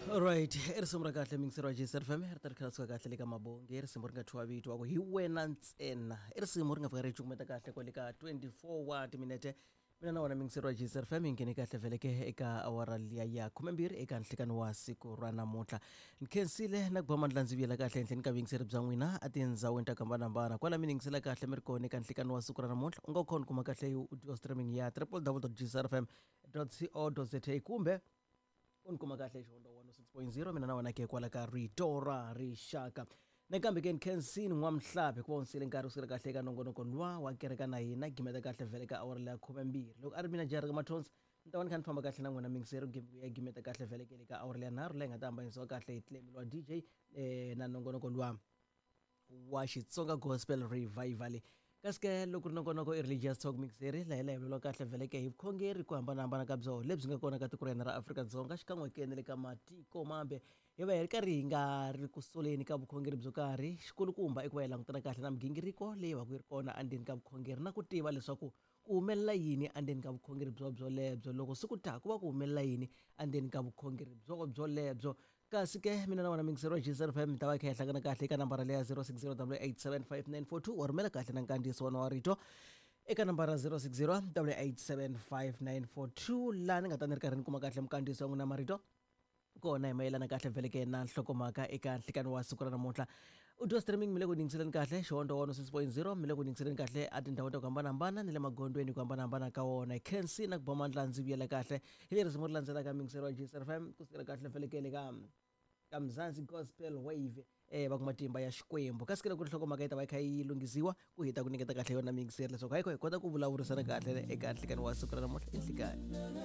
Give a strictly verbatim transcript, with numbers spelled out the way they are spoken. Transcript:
Alright, i risimu ra kahle mingiseri wa J C F M, ri ta ri kha suka kahle le ka mabongi. I risimu ri nga thyiwa vito wa ku "Hi Wena Ntsena". I risimu ri nga fika ri cukumeta kahle kwale ka twenty-four wa timinete. Mina na wena mingiseri wa J C F M hi nghene kahle vheleke eka awara liya ya khumembirhi eka nhlikani wa siku ra namuntlha. Ni khensile na ku ba mandla ndzi vuyela kahle henhleni ka vuyingiseri bya n'wina a tindhawini ta ku hambanahambana kwala mi yingisela kahle mi ri kona eka nhlikani wa siku ra namuntlha. U nga khona kuma kahle audio streaming ya w w w dot J C R F M dot co dot za kumbe u ni kuma kahle Xihundla one oh six point zero, mina na wena ke kwala ka Rito ra Rixaka. Nakambe ke ni khensini N'wamhlapi ku va unsile nkarhi kusukela kahle eka nongonoko luwa wa Kereka na Hina, gimeta kahle vhele ka awara leya khumembirhi. Loko a ri mina Jarika Mathonsi, ni ta va ni kha ni famba kahle na n'wina mingiseri ya gimeta kahle vhele ke le ka awara leya nharhu, leyi nga ta hambanyisiwa kahle hi Clemi wa D J eh, na nongonoko luwa wa Xitsonga Gospel Revival. Kasi ke loko ri nongonoko i Religious Talk mixeri, laha hi la hi vulavula kahle vheleke hi vukhongeri ku hambanahambana ka byona lebyi nga kona ka tiko ra hina ra Afrika-Dzonga, xikan'we ke na le ka matiko mambe. Hi va hi ri karhi hi nga ri ku soleni ka vukhongeri byo karhi, xikulukumba i ku va hi langutana kahle na migingiriko leyi va ku yi ri kona endzeni ka vukhongeri na ku tiva leswaku ku humelela yini endzeni ka vukhongeri byo byolebyo, loko siku ta ku va ku humelela yini endzeni ka vukhongeri byo byolebyo. Kasi ke mina na wena mingiseri wa J C F M mi ta va hi kha hi hlangana kahle eka nambara leya zero six zero eight seven five nine four two. Wa rhumela kahle na nkandziyiso wona wa rito eka nambara zero six zero eight seven five nine four two, laha ni nga ta ni ri karhi ni kuma kahle minkandziyiso ya n'wina marito kona hi mayelana kahle vheleke na nhlokomhaka eka nhlikani wa siku ra namuntlha. Audio streaming mi le ku yingiseleni kahle Xihundla one oh six point zero, mi le ku yingiseleni kahle a tindhawu ta ku hambanahambana ni le magondzweni ku hambanahambana ka wona. Khensi na ku ba mandla ndzi vuyela kahle hi leri risimu ri landzelaka mingiseri wa J C F M, kusukela kahle vheleke le ka ka Mzansi Gospel Wave, eh va ku "Matimba ya Xikwembu". Kasi ke loko nhlokomhaka yi ta va yi kha yi lunghisiwa ku hi ta ku nyiketa kahle yona mingiseri leswaku hayi hi kota ku vulavurisana kahle eka nhlikani wa siku ra namuntlha i nhlikani.